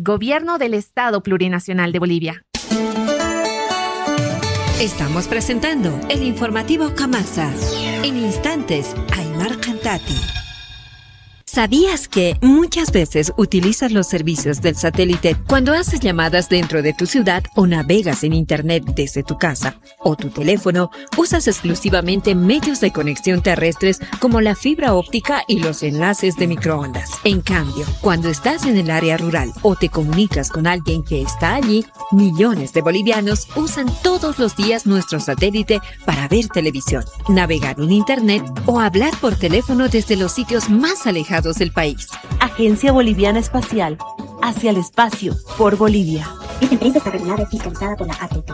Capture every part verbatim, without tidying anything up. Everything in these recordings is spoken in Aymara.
Gobierno del Estado Plurinacional de Bolivia. Estamos presentando el informativo Kamasa. En instantes, Aymar Cantati. ¿Sabías que muchas veces utilizas los servicios del satélite cuando haces llamadas dentro de tu ciudad o navegas en internet desde tu casa o tu teléfono? Usas exclusivamente medios de conexión terrestres como la fibra óptica y los enlaces de microondas. En cambio, cuando estás en el área rural o te comunicas con alguien que está allí, millones de bolivianos usan todos los días nuestro satélite para ver televisión, navegar en internet o hablar por teléfono desde los sitios más alejados del país. Agencia Boliviana Espacial, hacia el espacio, por Bolivia. Esta empresa está regulada y fiscalizada por la A T T.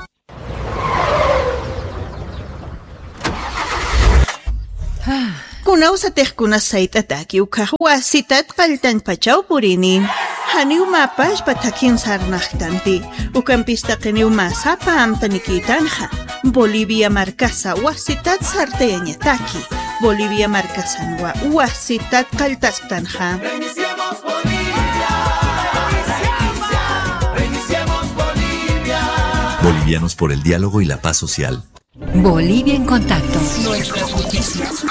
Kunawsatix kunas sayt'ataki ukhax wasitat qalltañpachaw purini. Janiw mä pachpa thakhin sarnaqtanti. Ukampis taqiniw mä sapa amtanikïtanxa. Bolivia markasa wasitat sartayañataki. Bolivia markasanwa wasitat qalltasktanxa. Bolivianos por el diálogo y la paz social. Bolivia en Contacto. Nuestras noticias.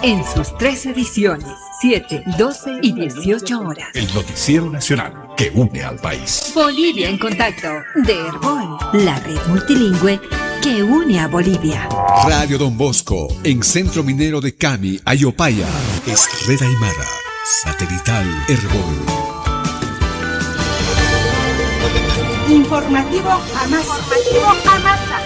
En sus tres ediciones, siete, doce y dieciocho horas. El noticiero nacional que une al país. Bolivia en Contacto, de Erbol, la red multilingüe que une a Bolivia. Radio Don Bosco, en Centro Minero de Cami, Ayopaya. Es Red Aymara, satelital Erbol. Informativo Jamasa. Informativo Jamasa.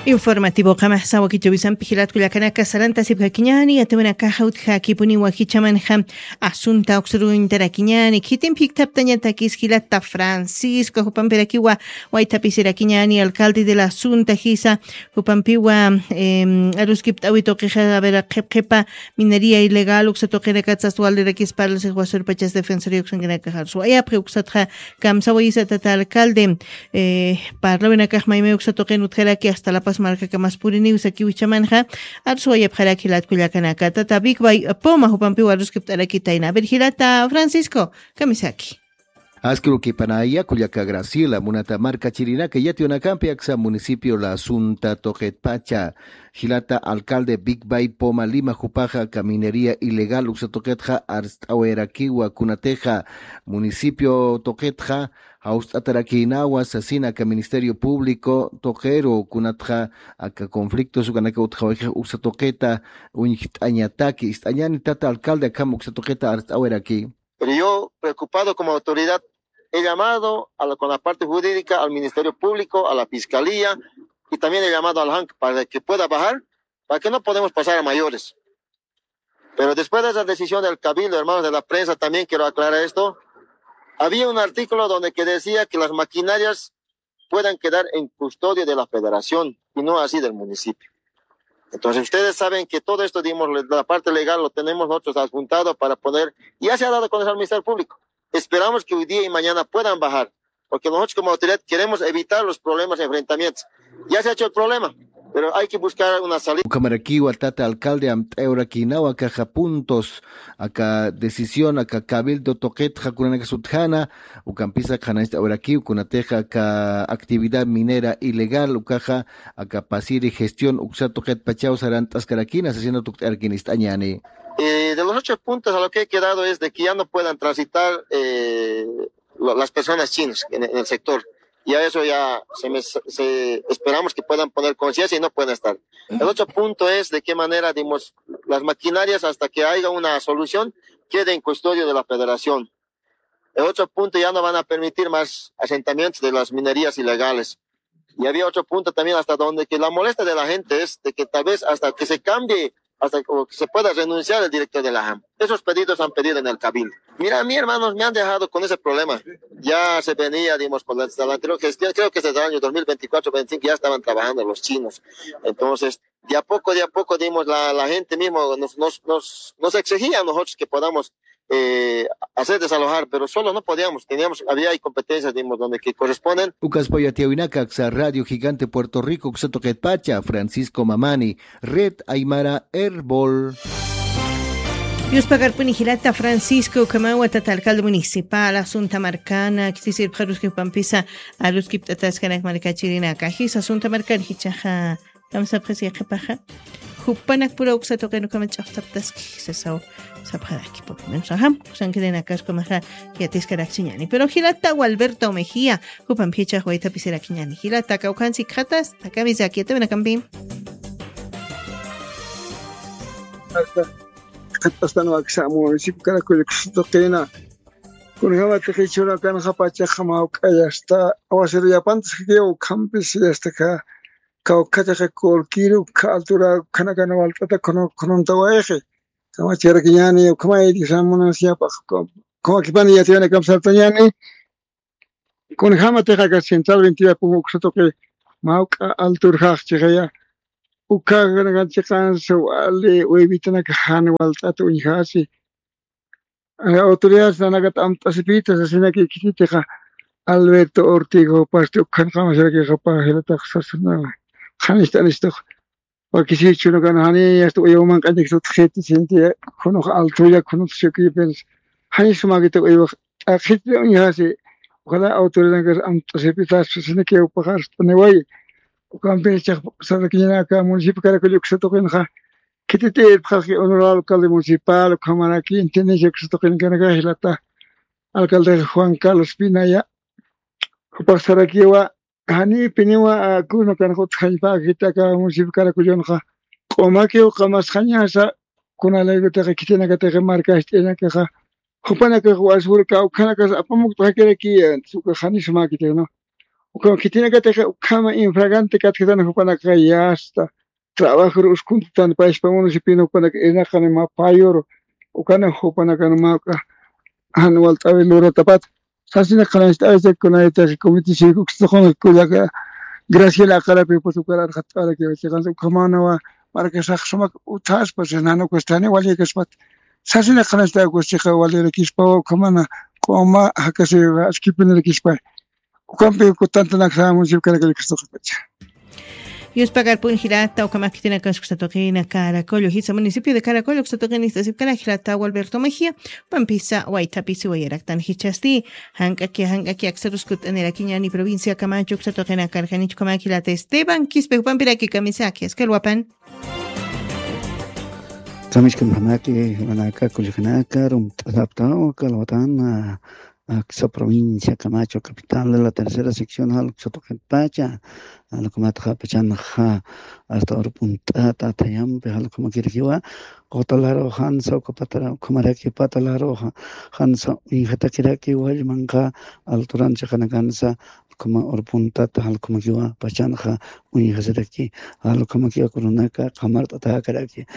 Informativo Jamasa, wakichäwisampi jilat kullakanaka, sarantasipkakiñäni, yatiyäwinakaxa utjakipuniwa jichhamanxa asunta uksruwintarakiñäni, khitimpi jikthaptañatakis jilata Francisco, jupampirakiwa waythapisirakiñäni, alcalde de la Asunta jisa, jupampiwa, em, aruskipt'äwi tuqixa, a ver, qhip qhipa minería ilegal uksa tuqinakatsa sas walirakis parlasix wasurpachas defensoría uksankanakaxa arswayapxi, uksatxa kamsawayisa tata alcalde, eh, parlawinakax maymay uksa tuqin utjaraki hasta La Paz markakamas puriniw sakiw jichhamanxa, arswayapxaraki jilat kullakanaka, tata Big Bay Poma jupampiw aruskipt'arakitayna. A ver, jilata Francisco, kamisaki. Aski urukipanayi kullaka Graciela, munata markachirinaka, yatiyäwinakampi aksa municipio La Asunta tuqitpacha, jilata alcalde Big Bay Poma Lima jupaxa aka minería ilegal uksa tuqitxa arst'awayarakiwa, kunatixa municipio tuqitxa jawst'atarakïnawa sasina aka Ministerio Público tuqiru, kunatxa aka conflictos ukanaka utjawayxi uksa tuqita uñjt'añataki. Ist'añäni tata alcalde, akham uksa tuqita arst'awayaraki. Pero yo, preocupado como autoridad, he llamado a la, con la parte jurídica, al Ministerio Público, a la Fiscalía, y también he llamado al hank para que pueda bajar, para que no podemos pasar a mayores. Pero después de esa decisión del Cabildo, hermanos de la prensa, también quiero aclarar esto, había un artículo donde que decía que las maquinarias puedan quedar en custodia de la Federación y no así del municipio. Entonces, ustedes saben que todo esto, digamos, la parte legal lo tenemos nosotros adjuntado para poder, ya se ha dado con el Ministerio Público. Esperamos que hoy día y mañana puedan bajar, porque nosotros como autoridad queremos evitar los problemas, enfrentamientos. Ya se ha hecho el problema, pero hay que buscar una salida. Ukhamarakiwa tata alcalde amt'ayawrakïnawa akaxa puntos, aka decisión, aka cabildo tuqitxa kunanakas utjäna, ukampisa qhanañcht'awarakiw kunatixa aka actividad minera ilegal, ukaxa aka pasiri gestión uksa tuqitpachaw sarant'askarakïna sasina tukt'arakïna, ist'añäni. Eh, de los ocho puntos a lo que he quedado es de que ya no puedan transitar, eh, lo-, las personas chinas en, en el sector. Y a eso ya se me, se, esperamos que puedan poner conciencia y no pueden estar. El otro punto es de qué manera, digamos, las maquinarias, hasta que haya una solución, queden en custodia de la Federación. El otro punto, ya no van a permitir más asentamientos de las minerías ilegales. Y había otro punto también hasta donde que la molestia de la gente es de que tal vez hasta que se cambie, hasta que se pueda renunciar el director de la ham. Esos pedidos han pedido en el Cabildo. Mira, a mí, hermanos, me han dejado con ese problema. Ya se venía, digamos, con la, la anterior gestión, creo que desde el año dos mil veinticuatro, veinticinco ya estaban trabajando los chinos. Entonces, de a poco, de a poco, digamos, la, la gente mismo nos, nos, nos, nos exigía a nosotros que podamos, eh, hacer desalojar, pero solo no podíamos, teníamos, había ahí competencias, digamos, donde que corresponden. Ukaspaw yatiyäwinaka aksa Radio Gigante Puerto Rico uksa tuqitpacha, Francisco Mamani, Red Aymara Erbol. Yuspakarpuni jilata Francisco Camawa, tata alcalde municipal, asunta markana, kitisir pxaruski pampisa, aruski pt'ataskanak markachirinaka, jisa asunta markan jichaxa, kamsapxasi yaqapaxa. Jupanak pura uksa tuqinukama ch'aqtaptaski, sasaw, sapxaraki, por lo menos, ajá, kusankirinakaskamaxa, yatiskarakchiñani. Pero jilata Gualberto Mejía, jupan phichax waytapisirakchiñani. Jilata kawkansi khatas, takamisaki, yatawinakampi. Khat'astan waksa municipio Caracollo ksutaqina. Kunjama tiqichuna kanxa pachaxa mawk'aya asta aguacero yapantas kikiw ukhampis asta ka kawkha tiqi colquiru ka altura khanakan walt'ata khununta wayqi. Kamachirakiñani ukhamay disamunas yapa. Khamakipani yatiyana kamsartañani. Kunjama tiqaka central veintiya pum uksa tuqi mawk'a alturjax chiqaya. Ukhakan chiqansa wali uywitanaka jan walt'ata uñjasi. Autoridades nanaka t'amt'asipita sasinaki khititiqa Alberto Ortigo pasti ukhan qamasirakiqa pajilataqa sasana. Qhanist'anistux. Wakisichuna kan jani asta uyawman q'añak sutxiti sinti khunux altulla khunux shukipins. Jani sumakita uywax t'aqhitri uñjasi. Ojalá autoridadnakas amt'asipitas sasinakiw paxarst'aniway. Ukampis chaqsarakiñanaka municipio Caracollo ksatuqinxa. Khititi irpxarqi honorable alcalde municipal ukhamaraki intendencia ksatuqinakanaka jilata alcalde Juan Carlos Pinaya. Jupaxsarakiwa. Janipiniwa kuna kan jutxañpakitaka municipio Caracollonxa q'umakiw qamasxañasa. Kunalaykutixa khitinakatixa markast'inakaxa jupanakax wasfurka ukhanakas apamukt'xakiraki. Uka janisumakitixna uka khitinakatixa ukhama infragante katkitan jupanakaxa yasta. Trabajor uskuntitan payshpa municipino jupanaka irnaqani ma payor ukana jupanakan mawk'a jan walt'awi luratapat. Sasina qhanancht'awisa kunaytaq comité cívico uksuqunqa kullaka Graciela Aqarapi putukar arxat'arakiwa chiqansa ukhamanawa markasax sumak uthaspa sinanukastani waliyakaspat. Sasina qhanancht'awi kusiqa walirakispawa ukhamana q'uma jakasi askipinirakispa. Ukampi kutantanaksa municipio Caracollo ksatuqinpacha. Yuspakarpun jilata ukhamak khitinakas ksatuqina Caracollo jisa municipio de Caracollo ksatuqina ist'asipkana jilata Gualberto Mejía. Pampisa waytapisi wayaraktan jichasti. Jank'aki jank'aki aksaruskut'anirakiñani provincia Camacho ksatuqina karjanichukama jilata Esteban Quispe jupampiraki kamisaki askalwapan. Kamichkanxanaki jiwanaka kullakanaka rumt'asaptaw kalwatan. Aksa provincia Camacho capital de la tercera sección jaluksa tuqitpacha. Jalukmatxa pachanxa asta urpunt'ata athayampi jalukmakirakiwa. Qutalaru jansa ukapatara ukhamaraki patalaru jansa uñjatakiraki wallmanxa alturan chiqanakansa. Ukhama urpunt'ata jalukmakiwa pachanxa uñjasiraki. Jalukmakiwa kunanaka qamart'atakaraki.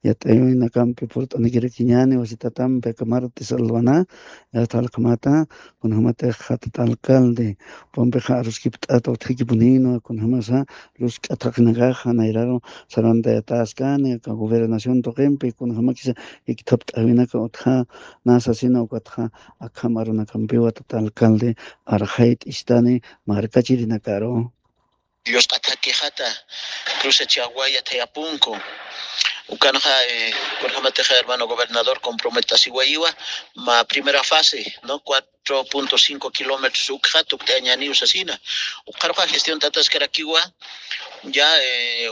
Yat'ayunakampi purt'anakirakiñani wasitatampi akamarti salwana. Yasta jalukmata kunjamatix jatata alcalde pumpixa aruskipt'ata utjikipuninwa kunjamasa lusk'atxaqinakaxa nayraru sarantayataskani aka gobernación tuqimpi kunjamakisa ikthapt'awinaka utja nasasina ukatxa akham arunakampiwa tata alcalde arxayt'istani markachirinakaru. Yusq'atha quejata cruce Chaguay athayapunku. Ukanxa kunjamatixa hermano gobernador comprometasiwayiwa ma primera fase no cuatro punto cinco kilómetros ukxa tukt'añaniw sasina. Ukaruxa gestión tataskarakiwa ya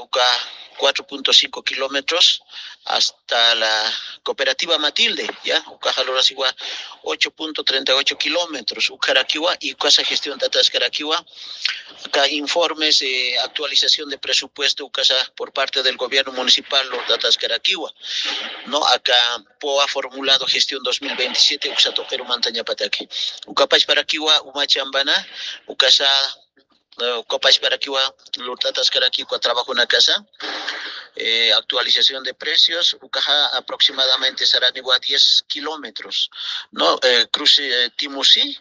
uka cuatro punto cinco kilómetros hasta la cooperativa Matilde ya ukaxa lurasiwa ocho punto treinta y ocho kilómetros ukarakiwa y ukasa gestión tataskarakiwa. Acá informes actualización de presupuesto ukasa por parte del gobierno municipal lurtataskarakiwa. No acá poa formulado gestión dos mil veintisiete uksa tuqiru mantañapataki. Ukapachparakiwa umachambana ukasa ukapachparakiwa lurtataskaraki uka trabajunakasa actualización de precios ukaxa aproximadamente saraniwa diez kilómetros no cruce timusi.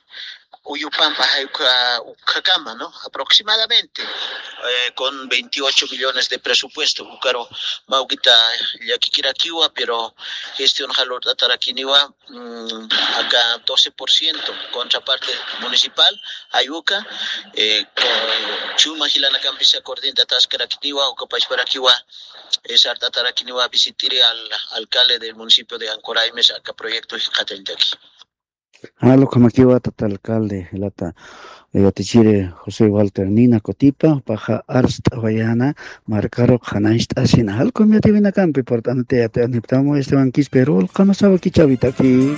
Uyupampa jayukha ukhakama, ¿no? Aproximadamente, eh, con veintiocho millones de presupuesto, ukaru mawkita llakikirakiwa, pero gestión jalurt'atarakiniwa, mm, acá doce por ciento, contraparte municipal, ayuka, eh, con chuma jilanakampisa coordinataskarakiniwa, ukapachparakiwa, eh, sart'atarakiniwa, visitiri al alcalde del municipio de Ancoraimes, acá proyecto jikatalltaki. Jalo kamakiwa tata alcalde, lata, eh, yatichiri José Walter Nina Cotipa, paja arst'awayana, markaru qhanancht'asina. Jalo kamiatiwinakampi, portanate, ate, aniptamu, Esteban Quispe, rol, kamasawa kichawitaki.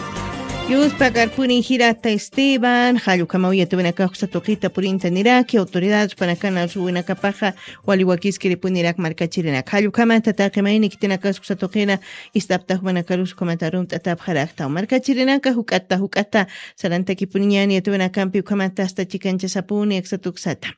Yuspa karpuni jirata Esteban, jallukamaw yatiwinakax satuqita purinta niraki, autoridad, panakana, suwinakapaja, wali wakiskiripunirak markachirinak. Jallukhamata taqi mayni kitinakas uksatuqina ist'apta jumanakarus ukhamata arunt'atapxarakta. Markachirinaka juk'ata juk'ata sarantakipuniñani yatiwinakampi ukhamata asta chikanchasapuni aksatuksata.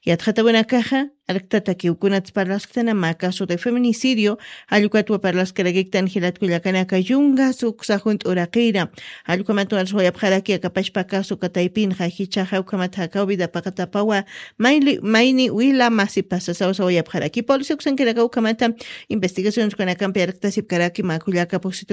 Yatxatawinakaxa, arktatakiw kunats parlasktanama caso de feminicidio, jallukatwa parlaskarakiktan jilatkullakanaka yungas uksa junt'uraqira. Jallukhamat warsawayapxaraki akapachpa caso kataypinxa jichhaxa ukhamat jakaw vida paqatapawa, mayli, mayni wila masi pasasaw sawayapxaraki. Policía uksankinakaw ukhamata investigaciones kanakampi arqtasipkaraki makullaka puksitu